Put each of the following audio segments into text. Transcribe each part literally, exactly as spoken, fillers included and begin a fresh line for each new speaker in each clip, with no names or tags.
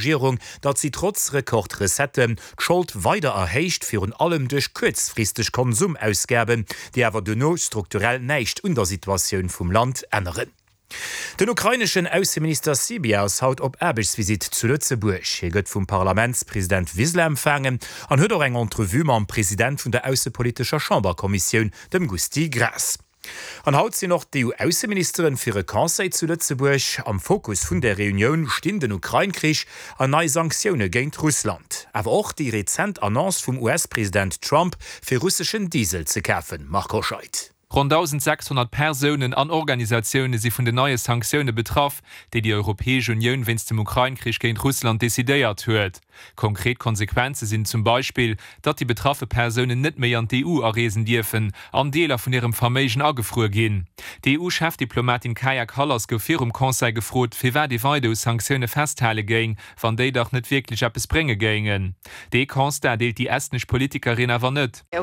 Regierung, datt si trotz Rekordrecetten d'Schold weider erhéicht, virun allem duerch kuerzfristeg Konsumausgaben, déi awer duerno strukturell näischt un der Situatioun vum Land änneren. Den ukraineschen Ausseminister Sybiha ass haut op Aarbechtsvisitt zu Lëtzebuerg. Hie gëtt vum Parlamentspresident Wiseler empfaangen an huet och eng Entrevue mam President vun der aussepolitescher Chamberkommissioun, dem Gusty Graas. An haut sinn och d'EU-Ausseministeren fir e Conseil zu Lëtzebuerg. Am Fokus vun der Reunioun stinn den Ukrain-Krich an nei Sanktioune géint Russland. Awer och déi rezent Annonce vum US-President Trump, fir russeschen Diesel ze kafen. Marc Hoscheid.
Ronn dausensechshonnert Persounen an Organisatioune si vun den neie Sanktioune betraff, déi déi Europäesch Unioun wéinst dem Ukrain-Krich géint Russland decidéiert huet. Konkret Konsequenze sinn zum Beispill, datt déi betraffe Persounen net méi an d'EU areesen dierfen an Deeler vun hirem Verméigen agefruer ginn. D'EU-Chefdiplomatin Kaja Kallas gouf virum Conseil gefrot, firwat ee weider u Sanktioune festhale géing, wann déi dach net wierklech eppes brénge géingen. Dee Constat deelt déi estnesch Politikerin awer net.
Mir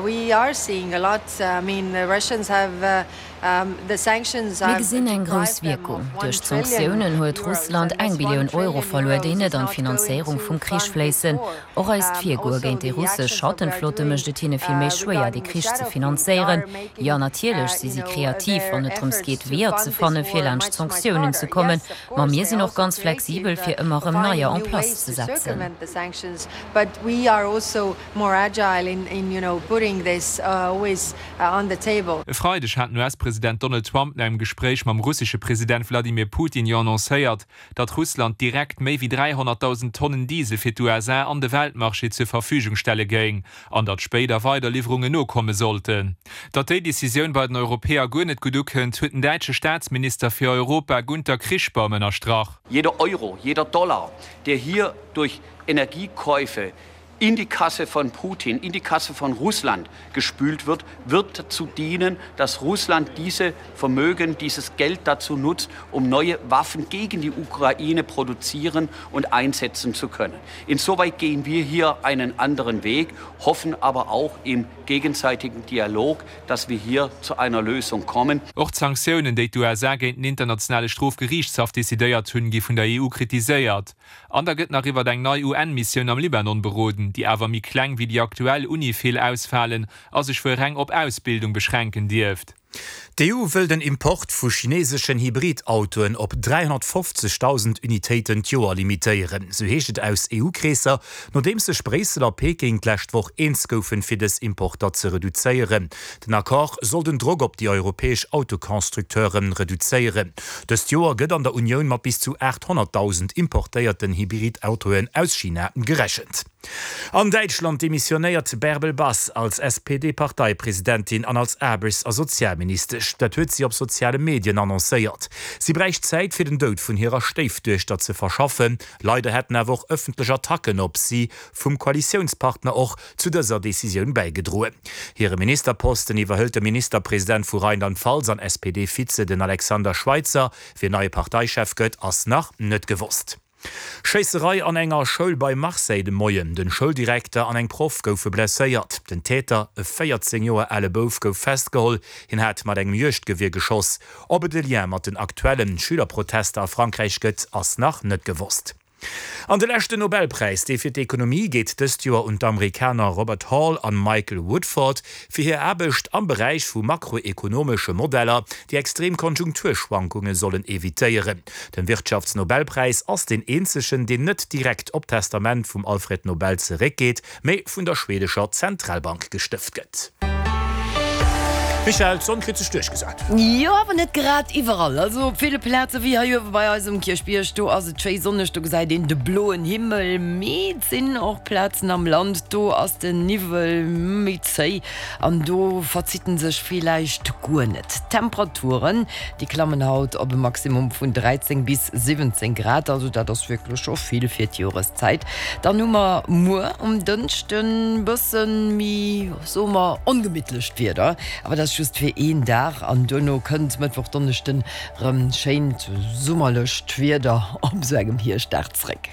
gesinn eng grouss Wierkung. Duerch d'Sanktiounen huet Russland eng Billioun Euro verluer, déi net an d'Finanzéierung vum Krich fléissen. Och eist Virgoe géint déi russesch Schattenflotte mécht et hinne vill méi schwéier, dee Krich ze finanzéieren. Jo, natierlech si si kreativ, wann et drëms geet, Weeër ze fanne fir laanscht d'Sanktiounen ze kommen. Ma mir sinn och ganz flexibel, fir ëmmer erëm neier en place ze setzen.
E Freideg hat den U S-President Donald Trump no engem Gespréich mam russesche President Wladimir Putin jo annoncéiert, datt Russland direkt méi wéi dräihonnertdausend Tonnen Diesel fir d'U S A an de Weltmarché zur Verfügung stelle géing an datt spéider weider Liwwerungen nokomme sollten. Datt déi Decisioun bei den Europäer guer net gutt ukënnt, huet den däitsche Staatsminister fir Europa Gunther Krichbaum ënnerstrach.
Jeder Euro, jeder Dollar, der hier durch Energiekäufe in die Kasse von Putin, in die Kasse von Russland gespült wird, wird dazu dienen, dass Russland diese Vermögen, dieses Geld dazu nutzt, um neue Waffen gegen die Ukraine produzieren und einsetzen zu können. Insoweit gehen wir hier einen anderen Weg, hoffen aber auch im gegenseitigen Dialog, dass wir hier zu einer Lösung kommen.
Och d'Sanktiounen, déi d'U S A géint den internationale Strofgeriichtshaff decidéiert hunn, gi vun der E U kritiséiert. An da gëtt nach iwwer eng nei U N-Missioun am Libanon beroden, déi awer méi kleng wéi déi aktuell UNIFIL ausfalen a sech wuel reng op Ausbildung beschränken dierft.
D'E U wëll den Import vu chineeseschen Hybridautoen op dräihonnertfofzegdausend Unitéiten d'Joer limitéieren, sou heescht et aus E U-Kreesser, nodeems sech Bréissel a Peking d'lescht Woch eens goufen, fir dës Importer ze reduzéieren. Den Accord soll den Drock op déi europäesch Autoconstructeure reduzéieren. Dëst Joer gëtt an der Unioun mat bis zu aathonnertdausend importéierten Hybridautoen aus China gerechent. An Däitschland demissionéiert Bärbel Bas als S P D-Parteipresidentin an als Aarbechts a Sozialministesch. Dat huet si op soziale Medien annoncéiert. Si bräicht Zäit fir den Doud vun hirer Stéifduechter ze verschaffen. Leider hätten awer och ëffentlech Attacken op si vum Koalitiounspartner och zu dëser Decisioun bäigedroen. Hire Ministerposten iwwerhëlt de Ministerpresident vu Rheinland-Pfalz an S P D-Vize den Alexander Schweitzer. Wien neie Parteichef gëtt, ass nach net gewosst. Schéisserei an enger Schoul bei Marseille de Moien. Den Schouldirekter an eng Proff goufe blesséiert. Den Täter, e véierzéng Joer ale Bouf, gouf festgeholl. Hien hat mat engem Juegdgewier geschoss. Ob et e Lien mat den aktuelle Schülerprotester a Frankräich gëtt, ass nach net gewosst. An de leschten Nobelpräis, dee fir d'Ekonomie, geet dëst Joer un d'Amerikaner Robert Hall an Michael Woodford fir hir Aarbecht am Beräich vu makroekonomesche Modeller, déi extrem Konjunkturschwankunge sollen evitéieren. Den Wirtschaftsnobelpräis ass deen eenzegen, deen net direkt op d'Testament vum Alfred Nobel zeréckgeet, mee vun der schwedescher Zentralbank gestëft gëtt. Michèle, d'Sonn kritt sech duerchgesat.
Jo, awer net grad iwwerall. Also op ville Plaze wéi hei uewe bei eis um Kierchbierg, do ass et schéi sonneg, do gesäit een de bloen Himmel. Mee et sinn och Plazen am Land, do ass den Niwwel méi zéi an do verzitt en sech villäicht guer net. D'Temperaturen, déi klammen haut op e Maximum vun dräizéng bis siwwenzéng Grad, also dat ass wierklech scho vill fir d'Joreszäit. Dann hu mer muer um Dënschden bësse méi, soe mer, ongemittlecht Wieder, awer dat ass just fir een Dag an duerno kënnt Mëttwoch, Donneschden rëm schéint summerlecht Wieder op sou engem Hierschtdag zréck.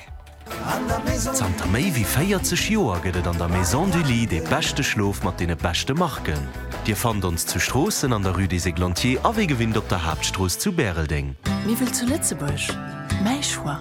Zanter méi wéi véierzeg Joer gëtt et an der Maison du Lit dee beschte Schlof mat deene beschte Marken. Dir fannt ons zu Stroossen an der Rue des Églantiers a wéi gewinnt op der Haaptstrooss zu Bäreldeng.
Miwwel zu Lëtzebuerg, mäi Choix.